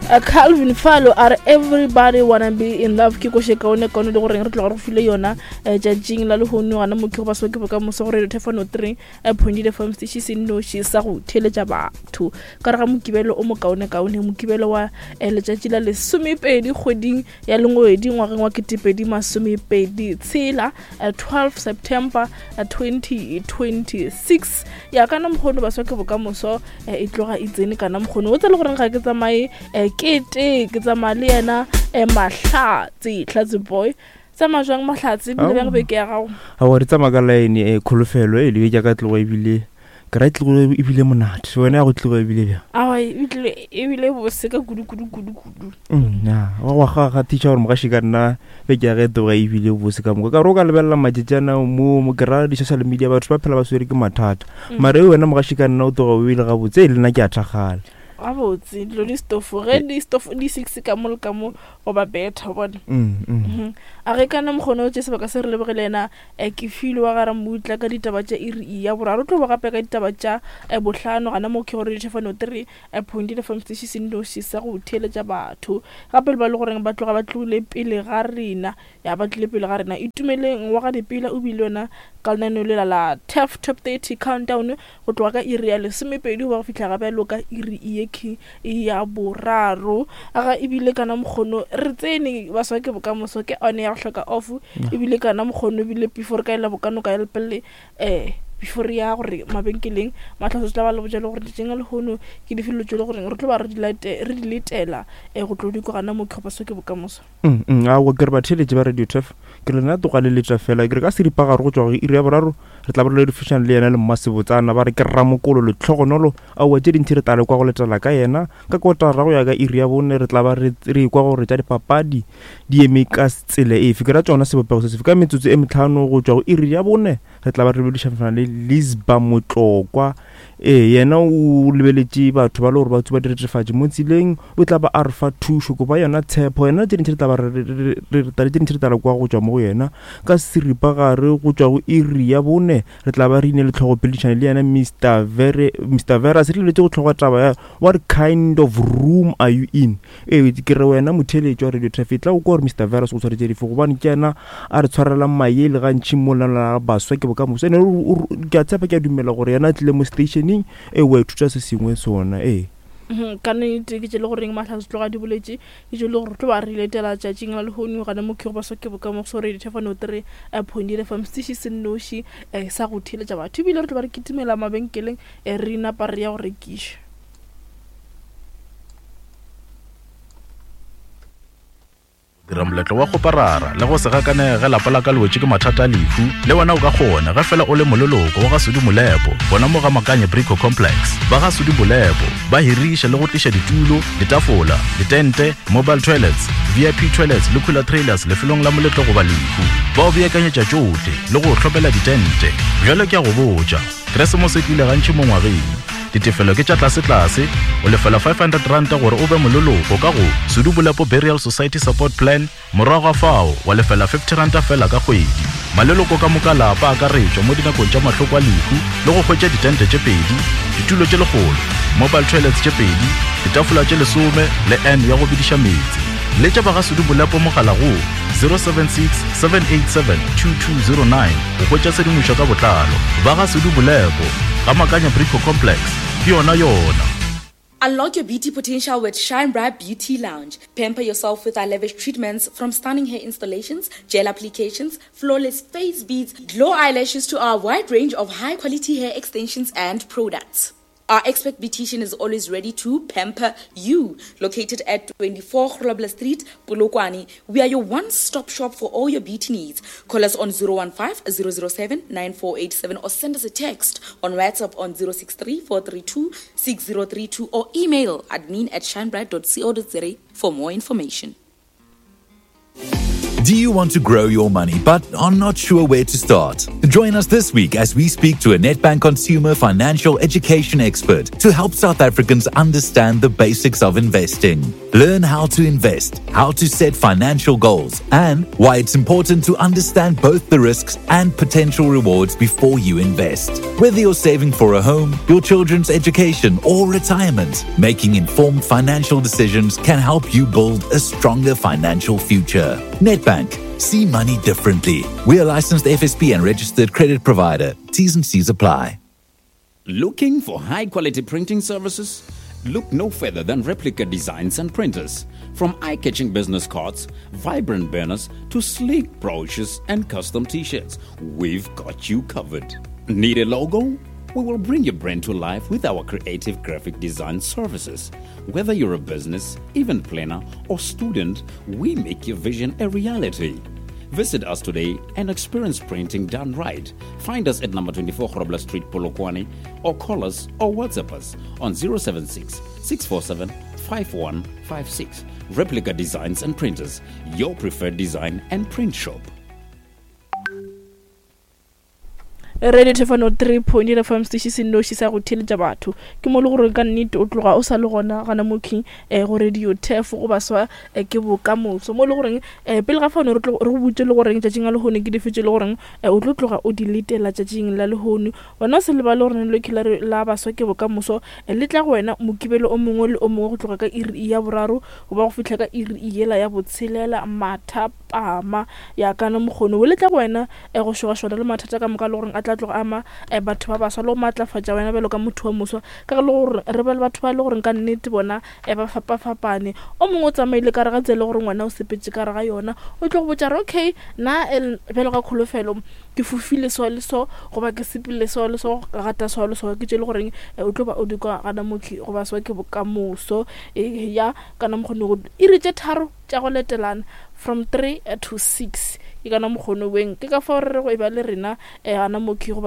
Calvin Falo a re everybody wanna be in love ke koše kaone kaone le goreng re tloga re file yona eh, tšatšing la lehono gana mo ke go ba soke bokamoso gore re thefano 3 eh, point fm station se nnoši sa go theeletša batho ka re ga mokibelo o mokaone kaone mokibelo wa eh, letšatši la lesomepedi kgweding ya lengwedi ngwageng wa ketepedi masomepedi tshela 12 September 2026 ya kana mokgono baswa ke bokamoso e tloga e tsene kana mokgono o tse le goreng ga ke tsamaye ke te ke tsamaya le yena mahlatse hlatse boy tsamaya jwang mahlatse ebile bjang beke ya gago aowa re tsamaya ka line e kholofelo e le beke ya ka tloga ebile ke ra tlogo ebile monate wena ya go tloga ebile bjang aowa ebile bose ka kudu kudu kudu kudu mm, ya wa gwa ga gatiša gore mogaši ka nna beke ya ge tloga ebile bose ka moka ka re o ka lebelela matšatšana mo mo ke ra di-social media batho ba phela ba swere ke mathata mm. mara e wena mogaši ka nna o tloga o ile gabotse e le nna ke a thakgala gabotse dilo di stofo ge di stofo di six ka mo le ka mo goba better bona mm, mm. Mhm. A ge kana mokgone o tše sebaka se re lebogele yena eh, ke file wa gara mmutla ka ditaba tša iri ya boraro tlo ba gape ka ditaba tša eh, bohlano gana mo ke gore dithefano 3 eh, point le fm station se nnoši sa go theeletša batho gape le ba le goreng ba tloga ba tlogile pele ga rena ya ba tlile pele ga rena itumeleng wa ga dipela o bile yona ka lenaneo lela la tef top 30 countdown go tloga ka iri ya lesomepedi go ba go fihla gape lo ka iri ye key ya boraro aga ebile kana mokgono re tsene baswa ke bokamoso ke one ya go hloka off ebile kana mokgono ebile before ka ela bokano ka lepelle um before ya gore mabenkeleng matlhatso tla ba le botša le gore ditšeng a lehono ke dife dilo tše le goreng re tlo ba re di letela um go tlo di kwa gana mo kgopaso ke bokamoso Mm, mm, aowa ke re batheeletši ba radio tef ke re lena tloga le letša fela ke re ka seripagare go tšwa go iri ya boraro re tla ba re ledifošana le yena le mmasebotsana ba re ke ramokolo letlhogonolo aowa tše dintši re tla le kwa go letela ka yena ka kotara go ya ka iri ya bone re tla ba re re kwa gore tša dipapadi di eme ka tsela efe ke ra tšona sebopego se sefe ka metsotso e metlhano go tšwa go iri ya bone re tla ba re lebedišana le lisba motlokwa Ee, yena o lebeletše batho ba le gore ba tsuba diretefatši mo tseleng, o tla ba a re fa thušo, kopa yona tshepo, yena tše dintši re tla ba re tla tše dintši re tla re kwa go tšwa mo go yena. Ka seripagare go tšwa go iri ya bone re tla ba re ine le tlhogopheledišano le yena Mister Vere, Mister Veras, re lebeletse go tlhogo taba ya What kind of room are you in? Ee, ke re wena motheeletši wa Radio Traffic, tla o kwa gore Mister Veras o tshwaretše dife, gobane ke yena a re tshwarelang mayele gantši mo lenaneo la baswa ke bokamoso. Ene ke a tshepa, ke a dumela gore yena a tlile mo stationeng, ee, wa ithuta se sengwe sona, ee. Mhm, ka nnete ke tše le goreng mahlatse tloga di boletše ke tše le gore tlo ba re letela tšatšing la lehono gana mo ke go baswa ke bokamoso re dithefano tere eh, point le fam setiši se nnoši eh, sa go theeletša batho ebile re tlo ba re kitimela mabenkeleng eh, re napa re ya go rekiša Dira moletlo wa kgoparara le go se gakanege ge lapa la ka le wetše ke mathata a lehu. Le wena o ka kgona ge fela o le moleloko wa ga Sudi Molepo gona mo ga Makanye Brico Complex. Ba ga Sudi Molepo ba hiriša le go tliša ditulo, ditafola, ditente, mobile toilets, VIP toilets le cooler trailers lefelong la moletlo goba lehu. Ba o beakanyetša tšohle le go o hlopela ditente. Bjale ke a go botša, Keresemose e tlile gantši mo ngwageng. Ditefelo ke tša tlasetlase, o lefela R500 gore o be moleloko ka go Sudu Bolepo Burial Society Support Plan, morago ga fao wa lefela R50 fela ka kgwedi. Maleloko ka moka lapa a akaretšwa mo dinakong tša mahloko a lehu le go hwetša ditente tše pedi, ditulo tše lekgolo, mobile toilets tše pedi, ditafola tše lesome le urn ya go bediša meetse. Letša ba ga Sudu Bolepo mogala go 076 787 2209 go hwetša tshedimošo ka botlalo. Ba ga Sudu Bolepo, ga Makanya Brico Complex, ke yona yona. Unlock your beauty potential with Shine Bright Beauty Lounge. Pamper yourself with our lavish treatments from stunning hair installations, gel applications, flawless face beads, glow eyelashes to our wide range of high quality hair extensions and products. Our expert beautician is always ready to pamper you. Located at 24 Grobler Street, Polokwane, we are your one-stop shop for all your beauty needs. Call us on 015 007 9487 or send us a text on WhatsApp on 063 432 6032 or email admin at shinebright.co.za for more information. Do you want to grow your money but are not sure where to start? Join us this week as we speak to a Nedbank consumer financial education expert to help South Africans understand the basics of investing. Learn how to invest, how to set financial goals, and why it's important to understand both the risks and potential rewards before you invest. Whether you're saving for a home, your children's education, or retirement, making informed financial decisions can help you build a stronger financial future. Nedbank, see money differently. We are licensed FSP and registered credit provider. T's and C's apply. Looking for high quality printing services? Look no further than Replica Designs and Printers. From eye catching business cards, vibrant banners, to sleek brochures and custom t shirts, we've got you covered. Need a logo? We will bring your brand to life with our creative graphic design services. Whether you're a business, event planner, or student, we make your vision a reality. Visit us today and experience printing done right. Find us at number 24 Grobler Street, Polokwane, or call us or WhatsApp us on 076 647 5156. Replica Designs and Printers, your preferred design and print shop. Radio Thefano 3.8 FM station se nnoši sa go theeletša batho ke mo le gore ka nnete o tloga o sa le gona gana moking eh, go radio thefo go baswa eh, ke bokamoso mo le goreng eh, pele ga fano re go butse le goreng tšatšing la lehono ke dife tše le goreng eh, o tlo tloga o di letela tšatšing la lehono wena o se lebale gore lelokhi la, la baswa ke bokamoso eh, le tla go wena mokibelo o mongwe le o mongwe go tloga ka iri ya boraro go ba go fihla ka iri yela ya botshelela mathapama ya kana mokgono o le tla go wena e go šogašoga le mathata ka moka le goreng a tla tloga ama um batho ba baswa le go maatlafatša wena bjalo ka motho wa moswa ka ge le gore re ba le batho ba e le goreng ka nnete bona um ba fapafapane o mongwe o tsamaile ka re ga tsela e le gore ngwana o sepetse ka re ga yona o tlo go botša re okay nna bjalo ka kholofelo ke fofile so le so goba ke sepile so le so ka gata so le so ke tše le goreng o tlo ba o di kwa gana mokhi goba swa ke bokamoso ya kana mokgone go iri tše tharo tša go letelana from 3 to 6 ke kana mokgono weng ke ka fao re re go e ba le rena um gana mokhi goba.